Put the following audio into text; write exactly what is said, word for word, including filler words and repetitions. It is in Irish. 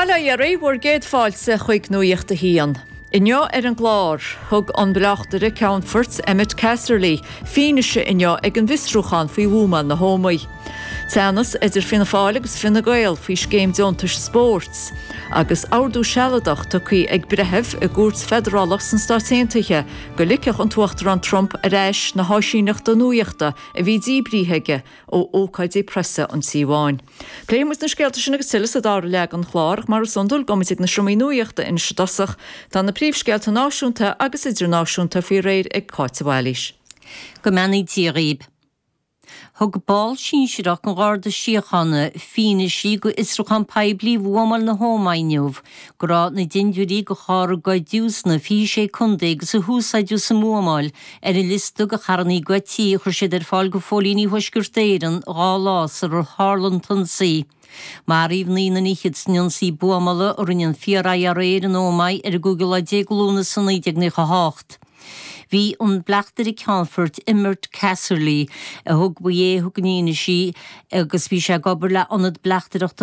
Bail ó Dhia oraibh, bhur gcéad fáilte chuig Nuacht a hAon. Inniu ar an gclár, thug an bleachtaire Ceannfoirt Emmett Casserly fianaise inniu ag an bhfiosrúchán faoi bhuamáil na hÓmaí. Teannas idir Fianna Fáil agus Fine Gael faoi scéim deontais spóirt, agus ordú sealadach tugtha ag breitheamh i gcúirt feidearálach sna Stáit Aontaithe go ligfeadh an tUachtarán Trump ar ais na háisíneachta nuachta a bhí díbrithe aige ó ócáidí preasa an Tí Bháin. Pléifidh muid na scéalta sin agus tuilleadh sa dara leath den chlár ach mar is iondúil gabhfaidh muid ag na seomraí nuachta anois i dtosach. Tá na príomhscéalta náisiúnta agus idirnáisiúnta faoi réir ag Cáit Bhailís. Go mbeannaí Dia dhaoib. Thug ball sinsearach an Gharda Síochána fianaise go fhiosrúchán poiblí bhuamáil na hÓmaí inniu go raibh na dintiúirí de charr a goideadh sna fiche sé contae agus a húsáideadh sa mbuamáil ar an liosta de charranna goidte a chuir siad ar fáil go phóilíní Thuaisceart Éireann dhá lá sular tharla an t-ionsaí. Maraíodh naoi nduine fhichead san ionsaí buamála a rinne an Fíor-IRA ar an Ómaigh ar an gcúigiú lá déag Lúnasa naoi déag nócha a hocht. Bhí an bleachtaire Ceannfoirt Emmett Casserly a thug ba é a thug an fhianaise agus bhí sé ag obair le ionad bleachtaireachta